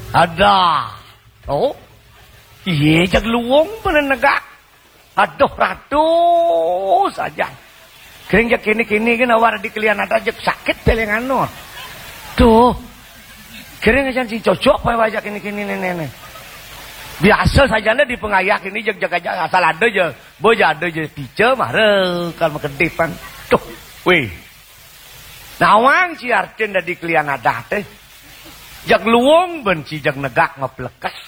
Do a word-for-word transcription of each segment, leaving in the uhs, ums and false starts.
Ada. Oh. Iye, jeg luung bener negak. Aduh, ratus aja. Kering jeg kini-kini kan awak di kelian ada jeg sakit pelengan no. Tuh. Kering aja sing cocok apa wajah kini-kini nenek. Biasa saja nih di pengayah ini jeg-jeg aja asal ada aja. Boja ada aja pica mara kan makedipan. Tuh. Wih. Nawang ci artin dadi kelian adat eh. Jeg luung ben ci jeg negak maplekes.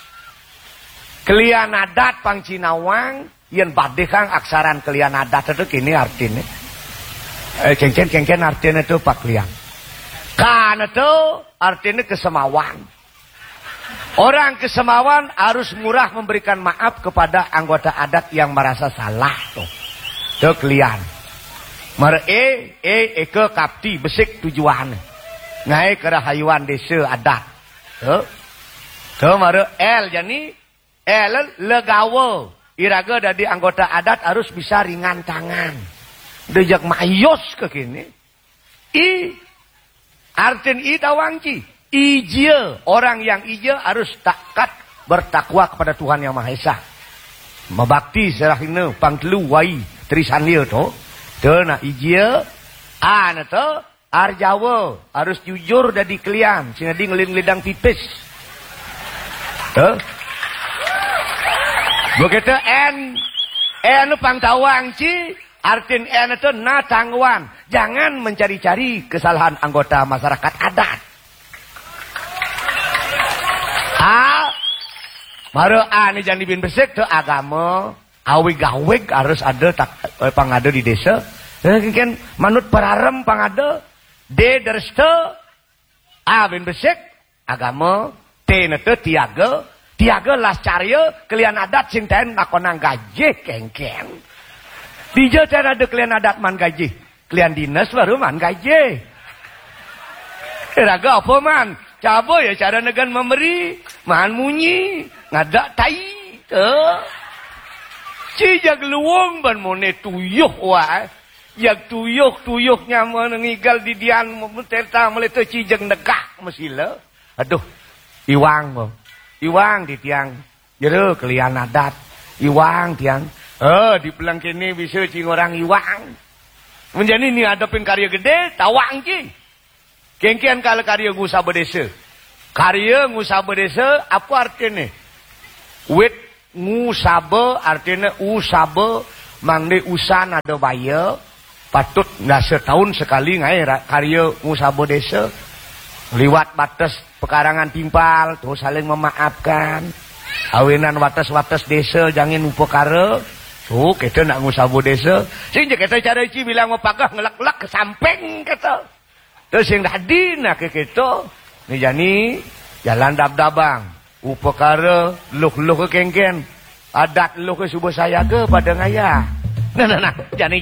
Kelian adat pang ci nawang, yen badihang aksaran kelian adat itu kini artine. Eh, kengken, kengken artine itu pak kelian. Kan itu artine kesemawan. Orang kesemawan harus murah memberikan maaf kepada anggota adat yang merasa salah tuh. Tuh kelian. Mer e, e, eke kapti besik tujuan. Ngae kerahayuan desa adat. Tuh. Tuh mara L jani, L legawa. Iraga dadi anggota adat harus bisa ringan tangan. Dejak mayos ke kini. I, artin i tawang ci. Ijia, orang yang ijia harus taat bertakwa kepada Tuhan Yang Maha Esa. Mabakti serahina pangtelu wai trisanil to. To nak ijia, ana to arjawa harus jujur dadi kelian, sinadi ngelin lidang pipis. To. Begitu N, N pang tawang ci, artin N itu na tangguan. Jangan mencari-cari kesalahan anggota masyarakat adat. A, mara A ni jani bin besik tu agama, awig-awig harus ada tak, eh, pangada di desa. Eh, kan manut pararem pangada, D deresta, A bin besik, agama, T nete tiaga, tiaga las carya, kelian adat sing taen nakonang gajih kengken. Dija taen ada kelian adat man gajih. Kelian dinas baru man gajih. Raga apa man? Caba ya cara negan memberi, man munyi, ngadak tai. Tuh. Ci jag luung ban mone tuyuh wae. Jag tuyuh, tuyuh nyaman ngigal didian, teta meleta ci jag negak mesila. Aduh, iwang, bo. Iwang di tiang. Jero kelian adat. Iwang tiang. Eh, di peleng kene bisa ci ngorang iwang. Menjadi ni adepin karya gede, tawang ci. Kengken kala karya ngusaba desa. Karya ngusaba desa, apa artine? Wit ngusaba artine usaba, mangde usan ada baya, patut ndak setahun sekali ngae ra-, karya ngusaba desa. Liwat batas pekarangan timpal, tuh saling memaafkan. Awinan wates-wates desa jangin upakara. Tuh, kita nak ngusaba desa. Sing je kita cara ci bilang mapagah ngelek-lek ke samping kita. Terus sing dadi nak ke kita. Ni jani jalan dab-dabang. Upakara luh-luh ke kengken. Adat luh ke suba sayaga pada ngaya. Nah, nah, nah. Jani